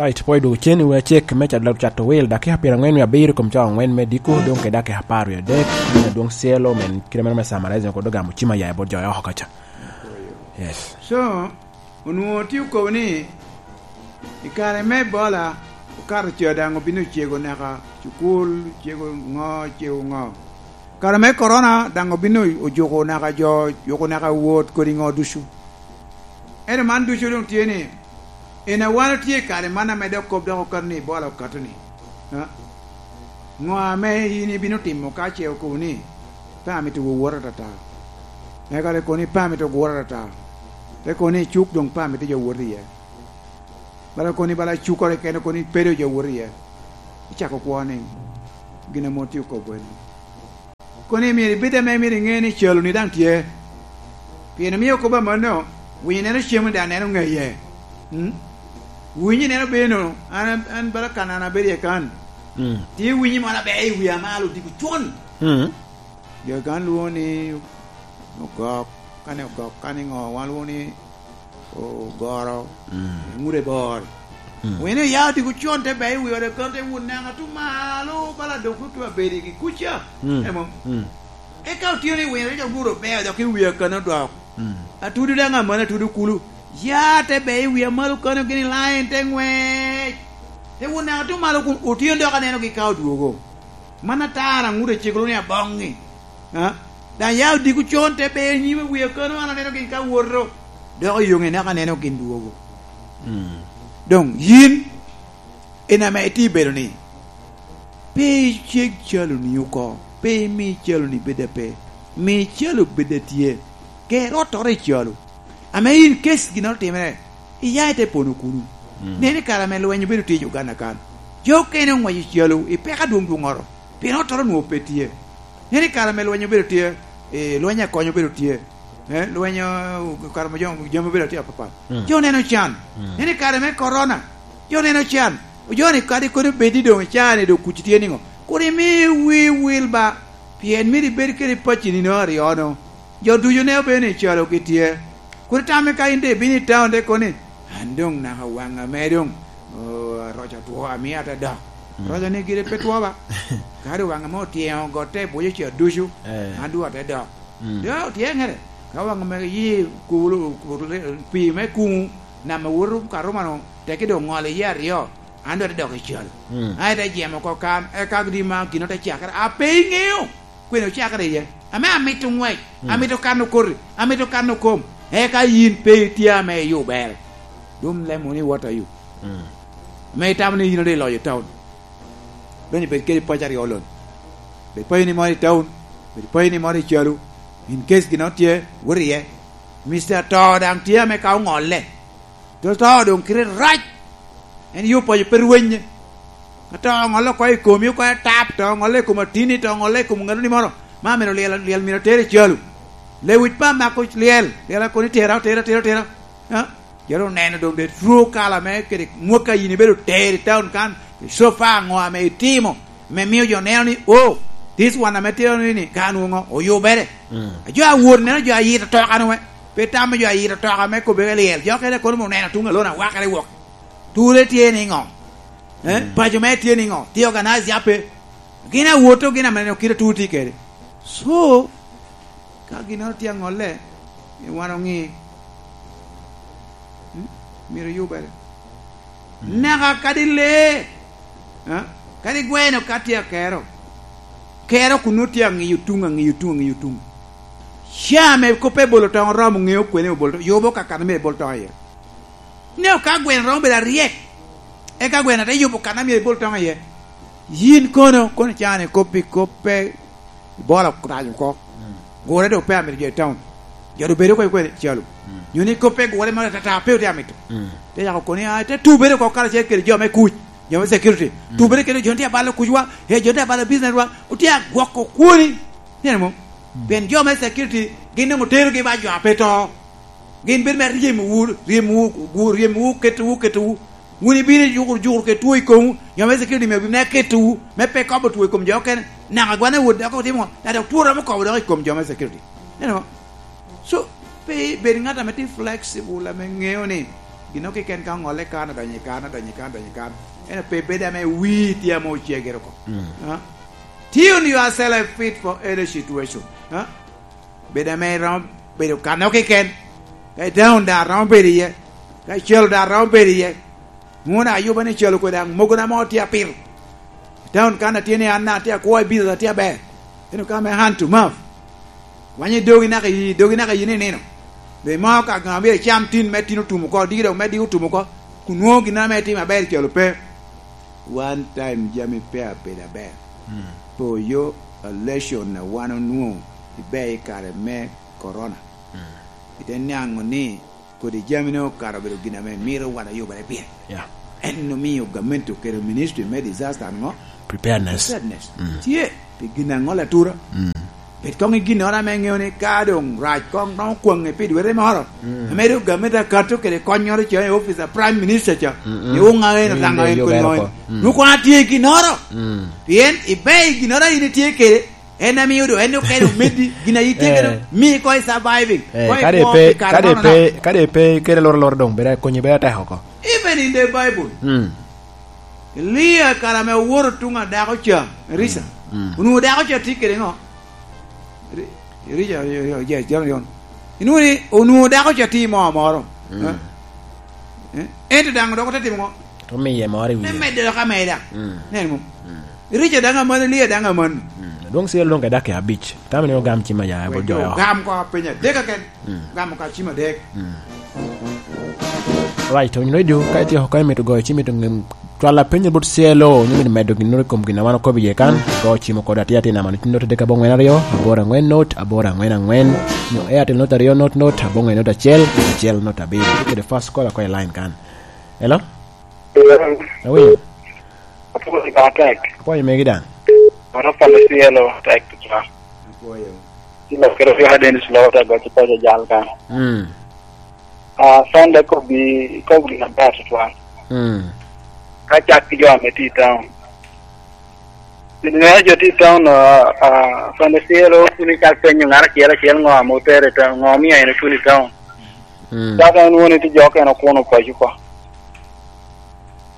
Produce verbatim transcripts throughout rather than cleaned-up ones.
Ite pwod dwogo cen i wi acek me cat-, cato wil, dakika pyerangwen wie abiro i kom cawa angwen me diko, doŋ kede dakika apar wie adek, me adwoŋ cielo, men kite meno me summarize, kod ogamo cim aya i bot jo oko kaca. Yes. So, onwoŋo tye okobo ni, i kare me Ebola, okato ca daŋ obino ocego naka, cukul ocego ŋo, ocego ŋo. Kare me korona daŋ obino ojuko naka jo, ojuko naka wot kodi ŋo ducu. Ento man ducu doŋ tye ni, en a wan otye i kare man ame dok kop dok okato ni Ebola okato ni, ha? Ŋo ame in ibino timo ka ce okobo ni, "Pe amito wowota atata"? Eka te kono ni, "Pe amito gura atata." Te kono ni, "Cuk doŋ pe amito jo wot iye." Bala kono ni, bala cukere kene kono ni, "Pe doŋ jo wot iye." Icako kwo ni, gin ame otye okobo en. Kono myero ibed ame myero iŋe ni calo-ni daŋ tye. Pien omio kop amanno, winyo neno cem-ni daŋ neno ŋeye. Mm? Winyo neno bino, an, an bala kan an abedo iye kan. Mm. Tye winyo moro aber i wi amal odiko con. Mm. Jo kan lwoŋo ni ogok, kane ogok, kane ŋo, wan lwoŋo ni ogoro, mm, ŋute bor. Mm. Wene ya odiko con te bɛi wi ode kan te wun neno atu malo, bala dok otu abedi gi kuca. Mm. Emo. Mm. Eka otio ni wene jo guro beo dok i wi akana dok. Mm. Atudu daŋ amana atudu kulu. Ya te bɛi wi amalo kano gini lain te ŋwec. Te wun neno atu malo kun otio dok aneno gi ka odwogo. Man atara ŋut acegolo ni aboŋŋi. Ha? Daŋ ya odiko con te beo nyime wi akano an aneno gin ka woto. Dok oyoŋe naka aneno gin dwogo. Mm. Doŋ yin, en ame itye bedo ni, pe iceg calo-ni oko, pe imi calo-ni bed ape, mi calo bed atye, ger ottoro i calo. Ame in case ginnoro otimere, iya ite pono kuno. Mm. Nen i kare ame lweny obedo tye i Uganda kan, jo okene oŋwaco calo i peko adwoŋ dwoŋŋoro, pien ottoro onwoŋo pe tye. Nen i kare ame lweny obedo tye, eh, lweny akonyo obedo tye, eh, lweny, eh, kare ame jo, jami obedo tye apapat. Mm. Jo neno can. Mm. Nen i kare me korona, jo neno can. Jo ni kadi kodi obed ni doŋ i caa-ni doŋ kuc tye niŋo? Kur imi wii wil ba, pien myero ibed kede pacci nino aryo-nu. Jo ducu ne obedo ni calo gitye. Kur itame ka in doŋ ibino i taun te kono ni, "An doŋ naka waŋa me doŋ, oh, aroc otwo, amio ate dok." Mm. Roc-ni gire pe two ba. Ka doŋ waŋa me otyeŋo gotte i buc ocel ducu, eh, an doŋ ate dok. Mm. Doŋ otyeŋere. Ka waŋa me yi kulo, kulo, pii me kuŋu, nam awoto ka rumano, teki doŋ ŋolo iye aryo. An doŋ ate dok i calo. Mm. An ite jemo oko kan, eka di ma gin ote cakere. A pe iŋeo kwene ocakere iye. Ame amito ŋwec, mm, amito kano koti, amito kano kom. Eka yin pe itye ame iyubere. Dum lemo ni what are you? Mm. Ame itamo ni yin ade iloyo taun. Doŋ ibed kede paco aryo lon. Bed paco ni moro i taun, bed paco ni moro i calo. In case gin tye, wot iye. Mister To daŋ tye ame ka oŋolle. To, to doŋ kite rac. En yo paco pe rwenye. Ka to oŋolle oko i komi, oko i tap, to oŋolle i kom atini, to oŋolle i kom ŋatoni moro. Ma myero lyel, lyel myero tere i calo. Lewic pa mako lyel, lyel akoni tera, tera, tera, tera. Ha? Jero oneno doŋ the true color me kede mwaka yin ibedo tero i town kan, so far ŋo ame itimo me mio jo neno ni, "Oh, this one ame tye ni, ni, ka nwoŋo oyubere." Mm. A jo a wot neno jo a yito toka ni we, pe tamo jo a yito toka me kobbe ke lyel. Jo kene kono oneno tuŋ alona wakere wok. Ture tye ni ŋo? Eh? Mm. Paco me tye ni ŋo? Tye organize ya pe? Gin a woto, gin ame neno kite tur tye kede. So, ka ginnoro tye aŋolle, wan oŋi, mm, myero yubere. Mm. Naka kadi lee, ah, kadi gweno ka tye akero, kero kun nwoŋo tye aŋiyo tuŋ, aŋiyo tuŋ, aŋiyo tuŋ. Ca ame kop ebolo toŋ oromo ŋeo kwene obolo toŋ, yubo ka kan me ebol toŋ iye. Ŋeo ka gweno romo bedo aryek, eka gweno te yubo kan a myero ebol toŋ iye. Yin kono, kono cani kop i kop pe Ibola orac oko. Mm. Gure doŋ pe amito jo i town. Jo doŋ bedo oko i kwene calo. Mm. Nyo ni kop pe gure moro atata pe otye amito. Mm. Te yako koni, "Ah, te tubere oko karacel kede jo me kuc, jo me security. Mm. Tubere kede jo tye abalo kucwa, eh, jo tye abalo business wa, otye agwoko kwoni." Neno mo? Mm. Pien jo me security gin doŋ oterogi ba jo a pe to. Gin bedo me ryemowu, ryemowu, gu-, ryemowu, ketowu, ketowu. Wun ibino ijukuru, jukuru kede two i komwu, jo me security myero obin me ketowu, me pe kobo two i kom jo okene. Naka gwan awot dok otimo ŋo? Na dok two romo kobo dok i kom jo me security. Neno? So, pe ibed ŋat ame tye flexible, ame ŋeo ni Gino keken ka oŋolle kan, odonyo i kan, odonyo i kan, odonyo i kan. Ento pe bedo ame wii tye ame ocegere oko. Mm. Ah? Tune yourself fit for any situation. Ah? Bedo ame iromo bedo kanno keken. Ka i town daŋ romo bedo iye. Ka i celo daŋ romo bedo iye. Nwoŋo daŋ ayuba ni celo kwe daŋ mogo na mo tye apito. I town kan atye ni an daŋ atye akwo i business atye aber. Ento ka me hand to mouth. Wanyo dogi naka i, dogi naka i nino. Be mo ka ŋa myero icam tin me tin otum oko, diki dok me diki otum oko. Kun nwoŋo gin ame itimo aber celo pe. One time jami pe abedo aber. Mm. Poyo election a wan onwoŋo ibe i kare me corona. Mm. Ite niaŋo ni kodi jami ne okato obedo gin ame mito wan oyubere pire. Yeah. En omio gamente okelo ministry me disaster ŋo? Preparedness. Preparedness. Mm. Tye, pi gin aŋola atura. Mm. Bed koŋ i ginnoro ame ŋeo ni ka doŋ rac koŋ romo kwaŋe pi dwete moro, mm, ame doŋ gamente akato kede konnyoro ca i office a Prime Minister ca, mm, mm, ni wuŋ a en, mm, oraŋo en, yubere kodi ŋo en oko. Mm. Nwoŋo koŋ atye i ginnoro. Mm. Pien ibe i ginnoro a in itye kede, en amio doŋ, en okene omeddi, gin a itye kede, eh, mii koŋ i surviving, eh, koŋ i kadi kwo pe, pi kare kadi nono pe, nono. Kadi pe kede loro loro doŋ, bed akonyi, bed atek oko. Even in the Bible. Mm. Elia kare ame owoto tuŋ a dako ca, Erija. Mm. Mm. Onwoŋo dako ca tye kede ŋo? Ri-, Erija, yo, yo, yes, John, John. Inwoŋo ni, onwoŋo dako ca tye i moo moro. Mm. Eh? Eh? Ento daŋ dok ote timo ŋo? Omiye moro i wiye. Me medde dok ameda. Mm. Nen mom? Mm. Erija daŋ amanno, Elia daŋ amanno. Mm. Dwong Cielo dwong ka daki abic. Tamo ni ogam cim aya, wek bot jo jo aya. Ogam ko piny adek keken. Mm. Gamo ka cim adek. Mm. Right, onyo radio, ka itye oko ka imito goyo cim, imito ngem, cwal apenyo bot Cielo, onyo imito medo ginnoro i kom gin a wan okobo iye kan, go cim oko dok atye atye namba ni note adek abongwen aryo, aboro angwen note, aboro angwen angwen, nyo Airtel note aryo note note, abongwen note acel, acel note abiro. Tye kede first call ako i line kan. Hello? Hello? Awinyo? Apwoyo ka tek. Apwoyo megi daŋ. Mano pala Cielo tek tutwal. Apwoyo. Ci lokere Yoha Dennis Lota goc i paco jal kan. Mm. Ah, Sunday kobbi, kobbi na ber tutwal. Mm. Ka cak ki jo ame tye i town. Pi neno jo tye i town, ah, ah, Sunday Cielo, kun icak penyo ŋat acel acel ŋo ame otere i town, ŋo omio en otuno i town. Mm. Cak en woni tye jo okene okuno paco oko.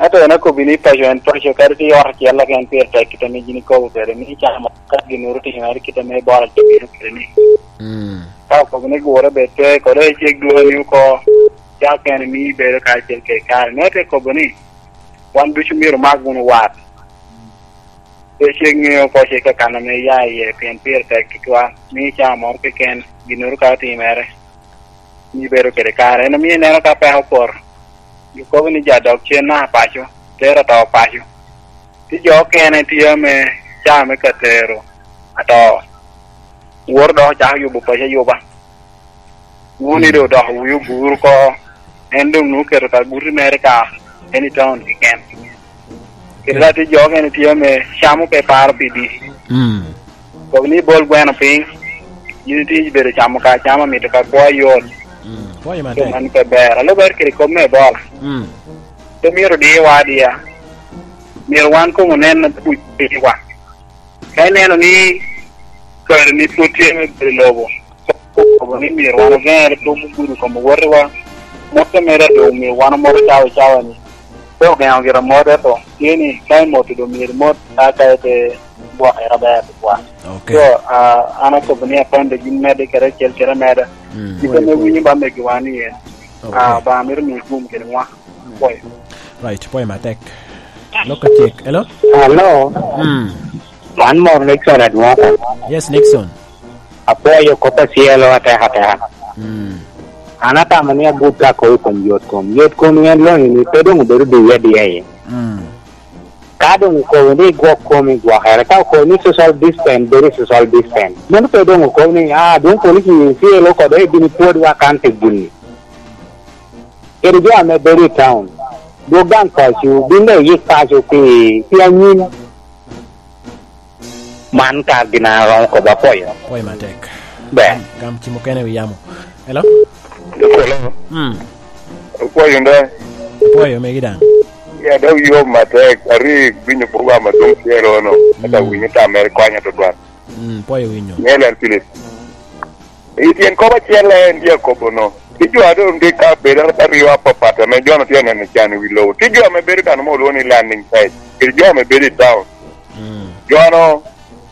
Ento en akobbi ni paco en paco, kadi tye i ot acel keken pire tek kite ame gin ikobo kwede, ni icamo ka ginnoro otimere kite ame Ebola tye bino kwede ni. Mm. Ka okobo ni gure bed pe, kode icik dwoni oko, cak en imi bedo kacel kede kare. Me te kobo ni, wan ducu myero omak wunu wat. Pe cik ŋeo oko cik kakan ame iya iye, pien pire tek tutwal, ni icamo moro keken, ginnoro ka otimere. Ni bedo kede kare. En omio ineno ka peko opoto, gikobo ni jo adok cen naka paco, tero ato paco. Tye jo okene tye ame caa me ka tero ato, woro dok ocako yubo paco ayuba. Wun i doŋ odoko wi oguro oko, en doŋ nwoŋo oketo ka guti mere ka, en i taun keken. Kede ka tye jo okene tye ame camo pe paro pidi. Mm. Kok ni ibol gweno piny, in itye ibedo camo ka acama, mito ka kwo ayot. Mm. Pwoyo matek. Mano pe ber. Alubere kede kop me Ebola. Mm. Pe myero diwa adiya. Myero wan koŋ onen kuc piriwa. Ka ineno ni kare ni pwod tye me bedo i lobo, kobo ni myero wan ogeŋere pe ogudo i kom owotewa. Motte mere doŋ myero wan omoto cawa cawa ni. Pe ogeŋo gira mot, ento tye ni ka imoto doŋ myero imot ka ka ite gwokere aber tutwal. Ok. So, ah, an akobo ni apande gin medde kede acel kede ameda. Mm. Gin ame winyo ba megiwa ni en. Ok. Ah, ba mito miyo gum kede nwa. Pwoyo. Right, pwoyo matek. Lok ka cek. Hello? Hello. Mm. Man moro Nixon Adwoka. Yes, Nixon. Apwoyo kop a Cielo atek ateka. Mm. An atamo ni agut ka akobo i kom yot kom. Yot kom en lonyo ni pe doŋ obedo diye adiya iye. Mm. Ka doŋ okobo ni igwok komi, gwokere. Ka okobo ni social distance, bedo i social distance. Meno pe doŋ okobo ni, ah, dwon police ni Cielo kode ibin ipwodwa kan pi gini. Kede jo ame bedo i town, dwog daŋ paco, bin daŋ iyik paco pi, pi anyim. Man ka gin a romo kobo, apwoyo. Pwoyo matek. Ber. Gam, gam ci mukene wi yamo. Hello? Hello? Mm. Apwoyo nda. Apwoyo megi daŋ. Ya, dok yom matek. Ari winyo program adwoŋ Cielo no. Ata winyo tam mere konya tutwal. Mm, pwoyo winyo. Ŋe lel Philip. I tyen kop acel en tye akobo no. Tye jo a doŋ tye ka bedo aryo apapat ame jo-nu tye neno can i wi lobo. Tye jo ame bedo kan mo olwoŋo ni landing site, kede jo ame bedo i town. Mm. Jo-nu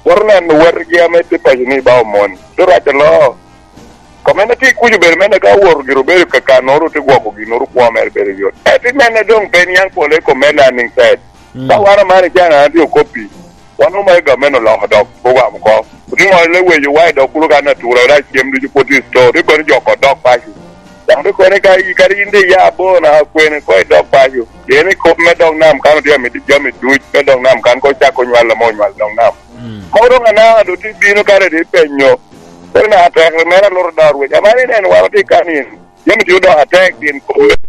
woto neno wetgi ame tye paco ni ba omon. Tye rac aloo. Kom en atye kuc obedo mene ka owoto gire obedo ka kannoro te gwoko ginnoro kwo mere bedo yot. Ento i mene doŋ pe niaŋ pole i kom me landing site. Mm. Ka wan amano i can an atye okoppi, wan omego gamente oloko dok program oko. Otiŋo leweyo wa i dog kulo kan atura, oda cem ducu pwod tye i store, tye kono joko dok paco. Dok tye kono ka i, kadi in de iya abor na kwene ko i dog paco. Pien i kop me dog nam kan otye amito jami duc me dog nam kan ko cako nywal ame onywal dog nam. Mm. Ko doŋ anaka do tye bino kare de penyo. Kore na atek mere aloro dor wec. Amani nen wan otye kan in. Jami tye odoko atek pien kop me